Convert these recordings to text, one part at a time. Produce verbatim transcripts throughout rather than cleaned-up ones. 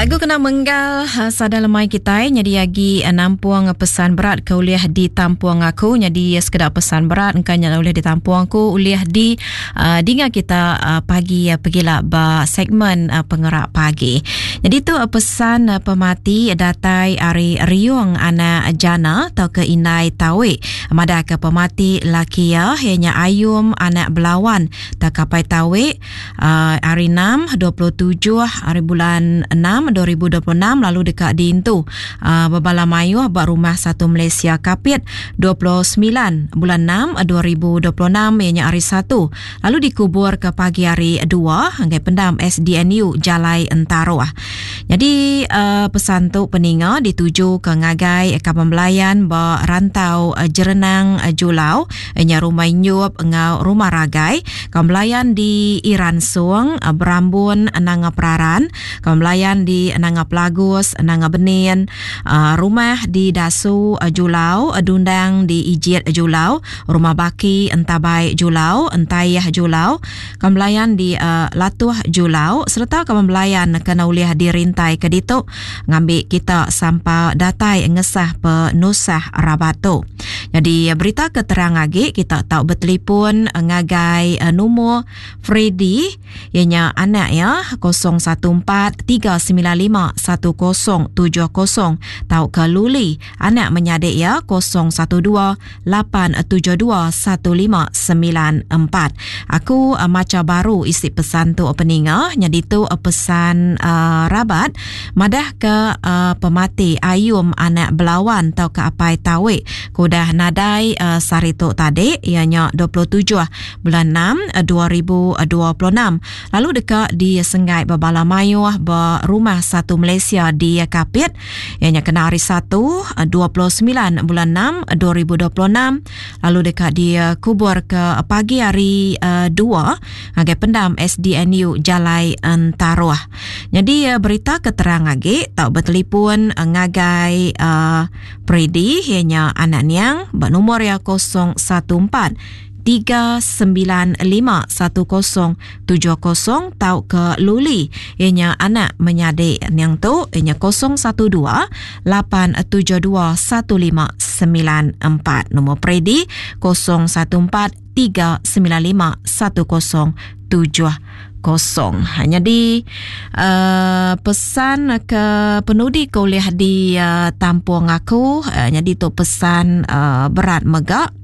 Lagu kena menggal sada lemai kitai nyadi agi nampung pesan berat ke ulih ditampung aku. Nyadi sekeda pesan berat engka nya ulih ditampung aku ulih di uh, dinga kita uh, pagi uh, pegila ba segmen uh, pengerak pagi. Jadi tu uh, pesan uh, pemati datai ari Riung anak Jana atau ke Indai Tawi. Madah ke pemati laki ya ianya Ayum anak Belawan tak kapai Tawi uh, hari enam dua puluh tujuh hari bulan enam dua ribu dua puluh enam lalu dekat diintu uh, berbala mayuh ba rumah satu Malaysia Kapit dua puluh sembilan bulan enam dua ribu dua puluh enam ianya hari satu lalu dikubur ke pagi hari dua hingga pendam S D N U Jalai Entaruh. Jadi uh, pesan tu peninga dituju ke ngagai kaban belayan ba rantau uh, Jerenang uh, Julau ianya rumah Nyup ngau rumah Ragai, kaban belayan di Iran Suang uh, Berambun Nanga Peraran, kaban belayan di Nanga Pelagus, Nanga Benin, uh, rumah di Dasu uh, Julau, uh, Dundang di Ijit Julau, rumah Baki Entabai Julau, Entayah Julau, kaban belayan di uh, Latuh Julau serta kaban belayan kena ulih dirintai ke ditu ngambil kita sampai datai ngesah penusah rabat tu. Jadi berita keterang lagi kita tahu bertelefon ngagai uh, nombor Freddy ianya anak ya kosong satu empat tiga sembilan lima satu kosong tujuh kosong tau ke Luli anak menyadik ya kosong satu dua lapan tujuh dua satu lima sembilan empat. Aku uh, maca baru isi pesan tu peninga jadi tu uh, pesan uh, rabat madah ke uh, pemati Ayum anak Belawan tau ke Apai Tawi kudah nadai uh, sari tu tadi ianya dua puluh tujuh bulan enam dua ribu dua puluh enam lalu dekat di Senggai Bebala Mayuh ba Rumah Satu Malaysia di Kapit ianya kena hari satu dua puluh sembilan bulan enam dua ribu dua puluh enam lalu dekat di kubur ke pagi hari uh, dua ngagai pendam S D N U Jalai Entaruh. Jadi uh, berita keterang lagi tau bertelefon uh, ngagai uh, Predi ianya anak niang ba nombor ya kosong satu empat tiga sembilan lima satu kosong tujuh kosong tau ke Luli ianya anak menyadik yang tu ianya kosong satu dua lapan tujuh dua satu lima sembilan empat. Nombor Predi kosong satu empat tiga sembilan lima satu kosong tujuh kosong. Jadi uh, pesan ke penudi ke ulih di uh, tampung aku uh, jadi tu pesan uh, berat megak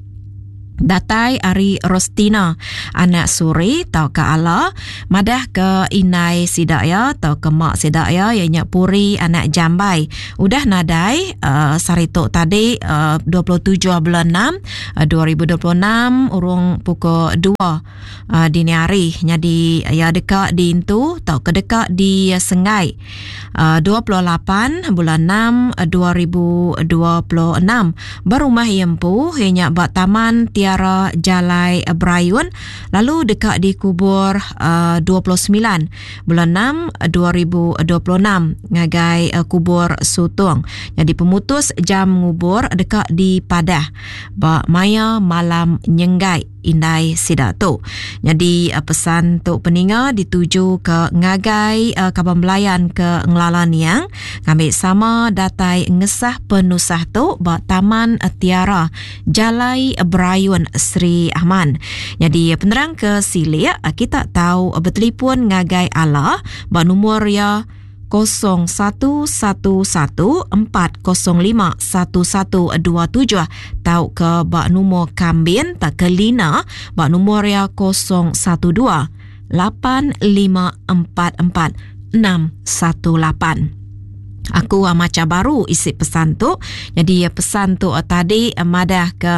datai ari Rostina anak Suri tau ke Ala madah ke inai sidak ya tau ke mak sidak ya ianya Puri anak Jambai udah nadai uh, sari tu tadi uh, dua puluh tujuh bulan enam uh, dua ribu dua puluh enam urung pukul dua uh, dini hari. Jadi ya dekat di intu tau ke dekat di Sengai uh, dua puluh lapan bulan enam uh, dua ribu dua puluh enam berumah iempu ianya ba Taman Tiara Jalai Berayun lalu dekat dikubur uh, dua puluh sembilan bulan enam dua ribu dua puluh enam ngagai uh, kubur Sutong. Jadi pemutus jam ngubur dekat di Padah ba maya malam nyenggai indai sida tu. Jadi uh, pesan tu peninga dituju ke ngagai uh, kaban belayan ke Ngelala Niang ngambil sama datai ngesah penusah tu ba Taman Tiara Jalai Berayun Sri Aman. Jadi penerang ke silik kita tahu bertelefon ngagai Allah ba nombor ya kosong satu satu satu empat kosong lima satu satu dua tujuh tau ke bak nombor kambin tak ke Lina bak nombor ya kosong satu dua lapan lima empat empat enam satu lapan. Aku maca baru isi pesan tu. Jadi pesan tu tadi madah ke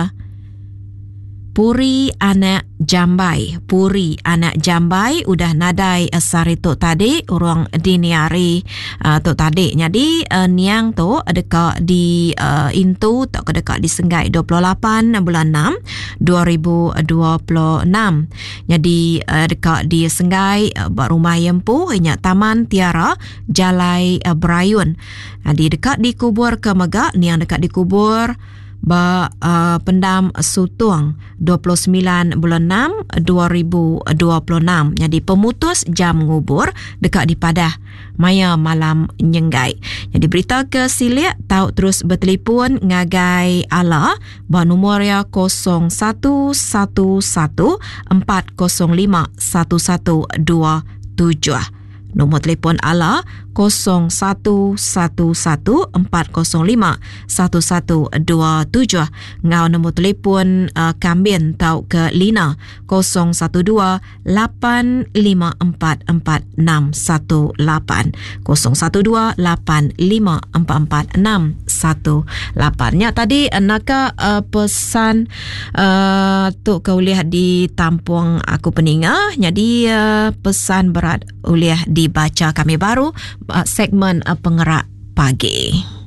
Puri anak Jambai. Puri anak Jambai udah nadai uh, sari tu tadi urang dini hari uh, tu tadi. Jadi uh, niang tu dekat di uh, intu tak ke dekat di Senggai dua puluh lapan bulan enam dua ribu dua puluh enam. Jadi uh, dekat di Senggai uh, bak rumah Yempu inya Taman Tiara Jalai uh, Berayun. Jadi dekat dikubur ke megak niang dekat dikubur ba uh, Pendam Sutong dua puluh semilan bulan enam dua ribu dua puluh enam. Jadi pemutus jam ngubur dekat di Padah maya malam nyenggai. Jadi berita ke silik tau terus bertelefon ngagai Ala ba nombor ya kosong satu satu satu empat kosong lima satu satu dua tujuh. Nombor telefon Ala kosong satu satu satu empat kosong lima satu satu dua tujuh. Ngau nombor telefon, uh, Kambin tau ke Lina kosong satu dua lapan lima empat empat enam satu lapan. Kosong satu dua lapan lima empat empat enam satu lapan. Nya tadi, uh, naka, uh, pesan, uh, tu ke uliah ditampung aku peninga. Jadi, uh, pesan berat uliah dibaca kami baru, uh, segmen, uh, pengerak pagi.